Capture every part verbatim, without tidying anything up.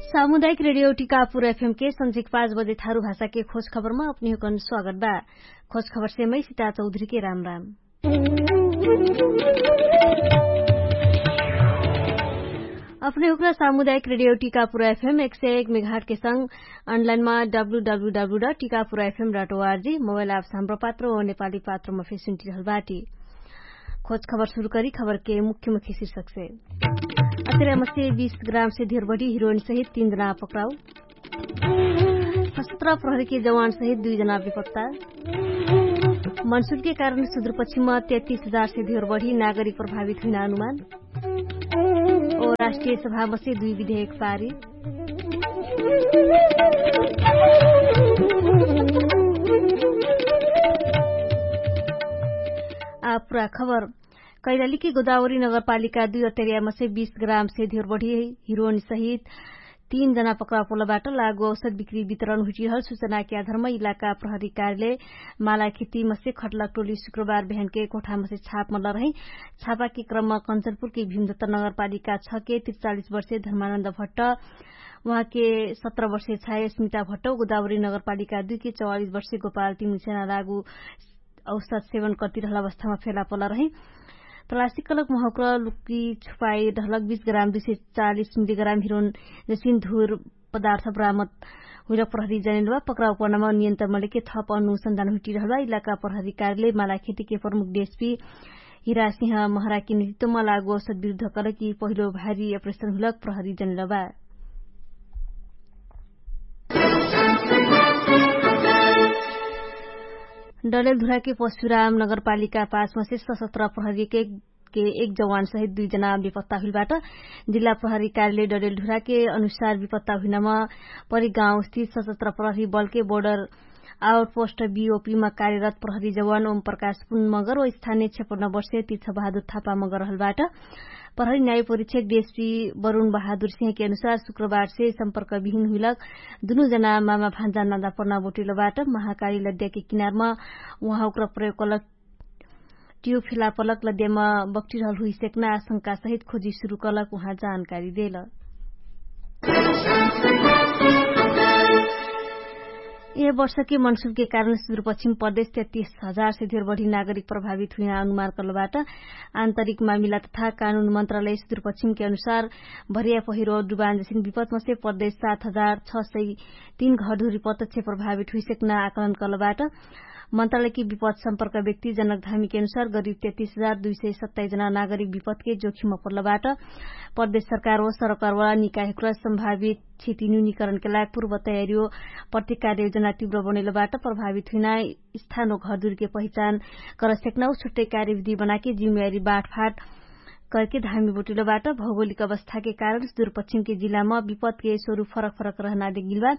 सामुदायिक रेडियो टिकापुर एफएम के संझिक पाँच बजे थारु भाषा के खोज खबरमा अपनिहुकन स्वागत बा। खोज खबर से मै सिता चौधरी के राम राम। अपने हुक्रा सामुदायिक रेडियो टिकापुर एफएम एक सय एक मेघाट के संग अनलाइनमा W W W dot Tikapur FM dot ORG mobile app साम्प्र पात्र ओ नेपाली पात्रमा फेर सुन्टिरहल बाटी। खोज खबर सुरु करी खबर के मुख्य मुख्य शीर्षक से। अतिरामसे बीस ग्राम से धेर बढी हिरोइन सहित तीन जना पक्राउ। सशस्त्र प्रहरी के जवान सहित दुई जना बेपत्ता। मनसुन के कारण सुदूरपश्चिम तेत्तीस हजार से धेर बढी नागरिक प्रभावित हुइना अनुमान। ओ राष्ट्रिय सभामसे दुई विधेयक पारी। आ पुरा खबर। कैलालीकी गोदावरी नगरपालिका दुई अटेरियामसे बीस ग्रामसे धेर बढी हिरोइन सहित तीन जना पक्राउ पोलबाट लागु औषध बिक्री वितरण हुइटिरहल सुचनाके आधारमा इलाका प्रहरी कार्यालय मालाखेतीमसे खटलक टोली सुक्रबार बेहनके कोठामसे छापमल रही। छापाके क्रममा कन्चनपुरके भीमदत्त नगरपालिका छके त्रिचालिस वर्षे धर्मानन्द भट्ट, उहाँके सत्र वर्षे छाए स्मिता भट्ट गोदावरी नगरपालिका दुइके चौवालिस वर्षे गोपाल तिमिसेना लागु औषध सेवन कर्तिरहल अवस्थामा फेला पल रही। प्लास्टिक कलक महौक्र लुकी छुपाई रहलक बीस ग्राम दुई सय चालिस मिली ग्राम हिरोन जसिन धुर पदार्थ बरामद हुइलक प्रहरी जनेलबा। पक्राउ पर्नामा नियन्त्रण मलेके थप अनुसन्धान हुइटिरहलबा इलाका प्रहरी कार्यालय मालाखेतीके प्रमुख डेस्पी हिरासिंह महराकी नितित्वमा लागु औषध विरुद्ध कलकी पहिलो भारी अप्रेशन हुइलक प्रहरी जनेलबा। डलेलधुराके पशुराम नगरपालिका पाँचमसे सशस्त्र प्रहरीके के एक जवान सहित दुई जना विपत्ता हुइलबाट। जिल्ला प्रहरी कार्यालय डलेलधुराके अनुसार विपत्ता हुइनमा परिगाउँस्थित सशस्त्र प्रहरी बलके बोर्डर आउटपोस्ट बिओपीमा कार्यरत प्रहरी जवान ओम प्रकाश पुन मगर ओ स्थानीय क्षेपन्न वर्षे तीर्थ बहादुर थापा मगर रहलबाट। प्रहरी न्याय परीक्षक डिएसपी वरुण बहादुर सिंहके अनुसार शुक्रबारसे सम्पर्क विहिन हुइलक दुनु जना मामा भान्जा नादा पर्ना बोटिलबाट महाकारी लद्याके किनारमा उहाँ उक्र प्रयोग कलक टियो फेला पलक लद्यामा बक्टिरहल हुइसेक्ना आशंका सहित खोजी सुरु कलक उहाँ जानकारी देल। यह वर्षके मनसुबके कारण सुदूरपश्चिम प्रदेश तेत्तीस हजार से धेर बढी नागरिक प्रभावित हुइना अनुमान कलबाट। आन्तरिक मामिला तथा कानुन मन्त्रालय सुदूरपश्चिमके अनुसार भरिया पहिरो डुबान जसिन विपत्मसे प्रदेश सात हजार छ सय तीन घरधुरी प्रत्यक्ष प्रभावित हुइसेक्ना आकलन कलबाट। मन्त्रालयके विपद सम्पर्क व्यक्ति जनक धामीके अनुसार गरिब तेत्तीस हजार दुई सय सत्ताइस जना नागरिक विपदके जोखिम पर्लबाट। प्रदेश सरकार व सरकारवाला निकायकुरा सम्भावित क्षति न्यूनिकरणके लायक पूर्व तयारी व प्रतिकार योजना तिव्र बनैलबाट प्रभावित हुइना स्थान व घरदुरीके पहिचान करसेक्ना व छुट्टै कार्यविधि बनाके जिम्मेवारी बाटफाट करके धामी बोटिलोबाट। भौगोलिक अवस्थाके कारण सुदूरपश्चिमके जिल्लामा विपदके स्वरूप फरक फरक रहना देगिलबा।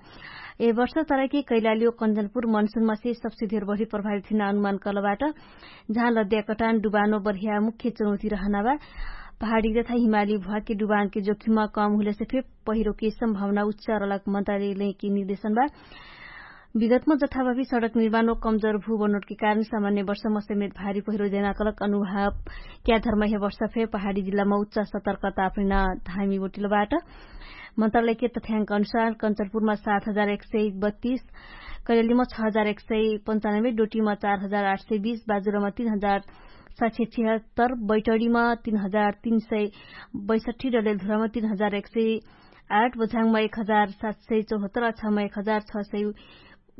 ए वर्ष तरके कैलाली व कन्चनपुर मनसुनमासे सबसे धेर बढी प्रभावित हुइना अनुमान कलबाट। जहाँ लद्याकटान डुबानो बढिया मुख्य चुनौती रहनाबा। पहाडी तथा हिमाली भुवाके डुबानके जोखिममा कम हुइलेसे फे पहिरोके सम्भावना उच्च रलक मन्त्रालयके निर्देशनबा। विगतमा जथाभावी सडक निर्माण व कमजोर भूबनोटके कारण सामान्य वर्षमा समेत भारी पहिरो जैनाकलक अनुभाव क्याधर्म हे वर्ष फे पहाडी जिल्लामा उच्च सतर्कता अपनिना धामी बोटिलबाट। मन्त्रालयके तथ्याङ्क अनुसार कन्चनपुरमा सात हजार एक सय बत्तीस, कैलेलीमा छ हजार एक सय पन्चानब्बे, डोटीमा चार हजार आठ सय बीस, बाजुरामा तीन हजार सात सय छिहत्तर, बैटडीमा तीन हजार तीन सय बैसठी, डलेलधुरामा तीन हजार एक सय आठ, बझाङमा एक हजार सात सय चौहत्तर, अछामा एक हजार छ सय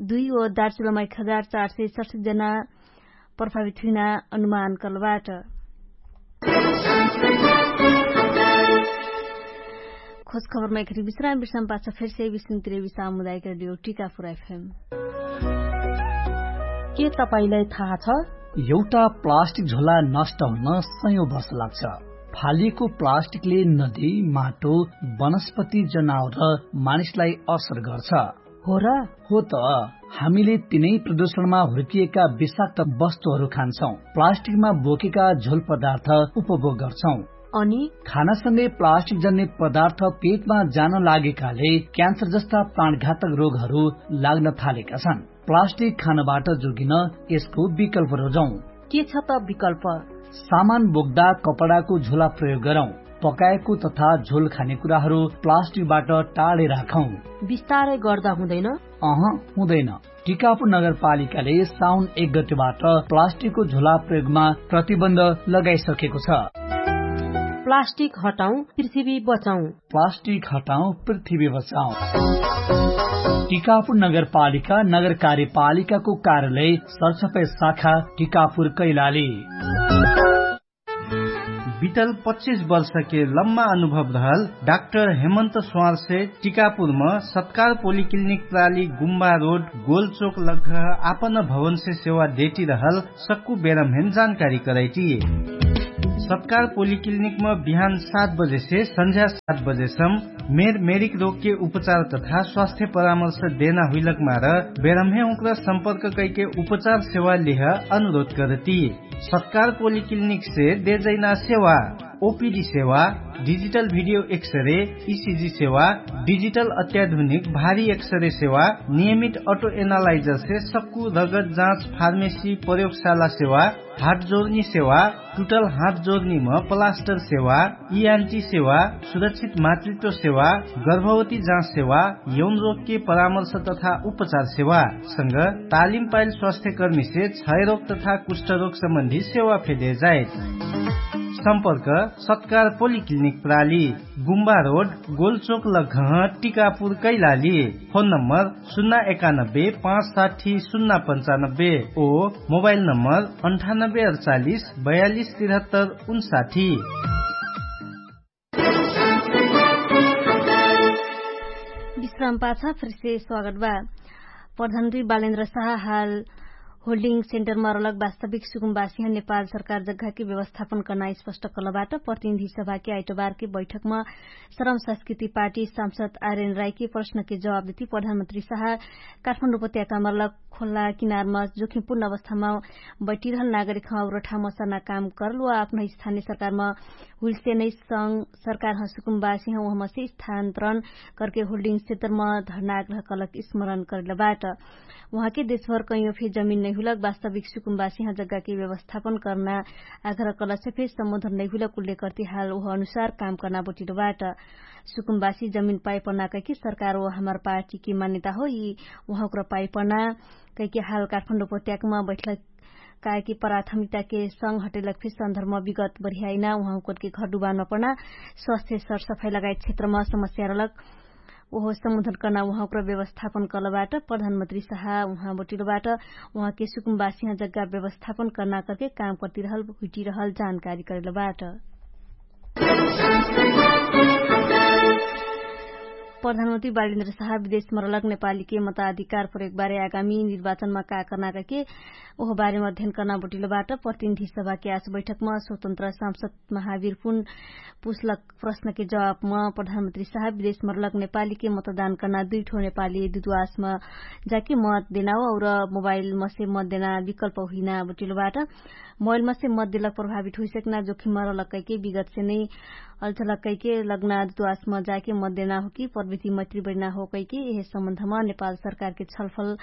दुई व दार्चुलामा एक हजार चार सय सडसठ जना प्रभावित हुइना अनुमान कलबाट। खोज खबरमा एकरी विश्राम विश्राम पाछ फेरसे विश्राम तिरेवी सामुदायिक रेडियो टिकापुर एफएम। के तपाईंलाई थाहा छ? एउटा प्लास्टिक झोला नष्ट हुन सयौं वर्ष लाग्छ। फालिएको प्लास्टिकले नदी, माटो, वनस्पति, जनावर र मानिसलाई असर गर्छ। हो र? हो त। हामीले तिनै प्रदूषणमा हुर्किएका विषाक्त वस्तुहरू खान्छौं, प्लास्टिकमा बोकेका झोल पदार्थ उपभोग गर्छौं। अनि खानासँगै प्लास्टिक जन्ने पदार्थ पेटमा जान लागेकाले क्यान्सर जस्ता प्राणघातक रोगहरू लाग्न थालेका छन्। प्लास्टिक खानबाट जोगिन यसको विकल्प रोजौं। के छ त विकल्प? सामान बोक्दा कपडाको झोला प्रयोग गरौं। पकाएको तथा झोल खाने कुराहरू प्लास्टिकबाट टाढै राखौं। विस्तारै गर्दा हुँदैन? अह, हुँदैन। टिकापुर नगरपालिकाले साउन एक गतिबाट प्लास्टिकको झोला प्रयोगमा प्रतिबन्ध लगाइसकेको छ। प्लास्टिक हटाउँ, पृथ्वी बचाउँ। प्लास्टिक हटाउँ, पृथ्वी बचाउँ। टिकापुर नगरपालिका नगर कार्यपालिकाको कार्यालय सरसफाइ शाखा टिकापुर कैलाली। बितल पच्चिस वर्षके लम्मा अनुभव रहल डाक्टर हेमन्त स्वारसे टिकापुरम सत्कार पोलिक्लिनिक प्राली गुम्बा रोड गोलचोक लग्घ आपन भवनसे सेवा देटिरहल सक्कु बेरम्हेन जानकारी करैटी। सत्कार पोलिक्लिनिकम बिहान सात बजेसे सन्झ्या सात बजेसम मेर मेरिक रोगके उपचार तथा स्वास्थ्य परामर्श देना हुइलक मार बेरम्हे उक्र सम्पर्क कैके उपचार सेवा लिह अनुरोध करती। सत्कार पोलिक्लिनिकसे देजैना सेवा ओपिडी सेवा, डिजिटल भिडियो एक्सरे, इसिजी सेवा, डिजिटल अत्याधुनिक भारी एक्सरे सेवा, नियमित अटो एनालाइजरसे सक्कु रगत जाँच फार्मेसी प्रयोगशाला सेवा, हात जोर्नी सेवा, टुटल हात जोर्नीम पलास्टर सेवा, इआन्टी सेवा, सुरक्षित मातृत्व सेवा, गर्भवती जाँच सेवा, यौन रोगके परामर्श तथा उपचार सेवा संग तालिम पाइल स्वास्थ्यकर्मीसे क्षयरोग तथा कुष्ठरोग सम्बन्धी सेवा फेदे जाइत। सम्पर्क सत्कार पोलिक्लिनिक प्राली गुम्बा रोड गोलचोक लघह टिकापुर कैलाली। फोन नम्बर सुन्ना एकानब्बे पाँच साठी सुन्ना पन्चानब्बे ओ मोबाइल नम्बर अन्ठानब्बे अडचालिस बयालिस तिरहत्तर उन्साठी। विश्राम पाछा फिरसे स्वागत बा। प्रधानमन्त्री बालेन्द्र साहा हाल होल्डिङ सेन्टरमा रलक वास्तविक सुकुम्बासिह नेपाल सरकार जग्घाके व्यवस्थापन कर्ना स्पष्ट कलबाट प्रतिनिधि सभाके आइटबारके बैठकमा श्रम संस्कृति पार्टी सांसद आर्यन राईके प्रश्नके जवाब देती प्रधानमन्त्री साहा काठमाडौं उपत्यकामा रलक खोल्ला किनारमा जोखिमपूर्ण अवस्थामा बैटिरहल नागरिकह उरठा मसर्ना काम करल वा आफनह स्थानीय सरकारमा हुइलसे नै संग सरकारह सुकुम्बासिह उहमसे स्थान्तरण करके होल्डिङ सेन्टरमा धर्ना आग्रह कलक स्मरण करल बाट। उहाँके देशभर कैयो फे जमिन नैहुलक वास्तविक सुकुम्बासिह जग्गाके व्यवस्थापन कर्ना आग्रह कलक से फे सम्बोधन नैहुलक उल्लेख कर्ति हाल उह अनुसार काम कर्ना बोटिल बाट। सुकुम्बासी जमिन पाइपना कैके सरकार ओ हमार पार्टीके मान्यता हो यि उहाँक्र पाइपना कैके हाल काठमाडौं उपत्यकामा बैठल कायकी प्राथमिकताके संग हटेलक फे सन्दर्भमा विगत बढियाइना उहाँकरके घरडुबानमा पढ्ना स्वास्थ्य सरसफाइ लगायत क्षेत्रमा समस्या रहलक ओहो सम्बोधन कर्ना उहाँकरो व्यवस्थापन कर्लबाट प्रधानमन्त्री साहा उहाँ बटिलोबाट उहाँके सुकुम्बासिहा जग्गा व्यवस्थापन कर्ना करके काम कर्तिरहल हुइटिरहल जानकारी करेलबाट। प्रधानमन्त्री बालेन्द्र साहा विदेशमा रहलक नेपालीके मताधिकार प्रयोगबारे आगामी निर्वाचनमा का कर्ना कहिके ओहो बारेमा अध्ययन कर्ना बटिलोबाट प्रतिनिधि सभाके आस बैठकमा स्वतन्त्र सांसद महावीर पुन पुसलक प्रश्नके जवाबमा प्रधानमन्त्री साहा विदेशमा रहलक नेपालीके मतदान कर्ना दुइ ठो नेपाली दुद्वासमा जाके मत देनाओ और मोबाइलमा से मत देना विकल्प हुइना बटिलोबाट मोबाइलमा से मत देलक प्रभावित हुइसक्ना जोखिममा रहलक कैके विगतसे नै अल्झलक कैके लग्ना दुद्वासमा जाके मत देना हो कि प्रविधि मैत्री बढिना हो कैके यहे सम्बन्धमा नेपाल सरकारके छलफल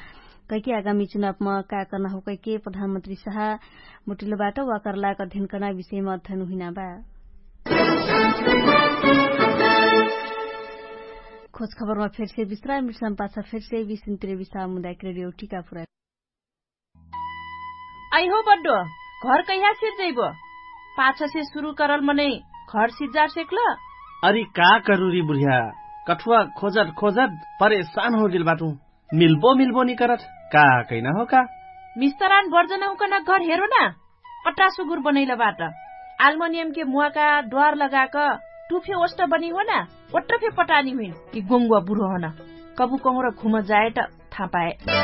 कैके आगामी चुनावमा का कर्ना हो कैके प्रधानमन्त्री साहा बटिलोबाट वाकरलाक अध्ययन कर्ना विषयमा अध्ययन हुइना बा। खोज खबरमा फेरसे विश्राम मिर्सम पाछा फेरसे विश्राम तिरे विश्राम मुदायक रेडियो टिका पुरा। अइहो बड्डो, घर कैहा सिर्जैबो? पाछसे सुरु करल मनै घर सिर्जार सेक्ल? अरि का करुरी बुढिया, कठुवा खोजत खोजत परेशान होगेल बाटु। मिल्बो मिल्बो निकरत का कैना हो का? मिस्तरान बर्जन हुकन घर हेरो ना। अट्टा सुगुर बनैल बाट। आल्मोनियम के मुवाका द्वार लगाक टुफे ओष्ट बनी हो ना। ओट्ट फे पटानी हुइन कि गोंगुवा बुढो हन। कबु कहुँर घुम जायट थापाए।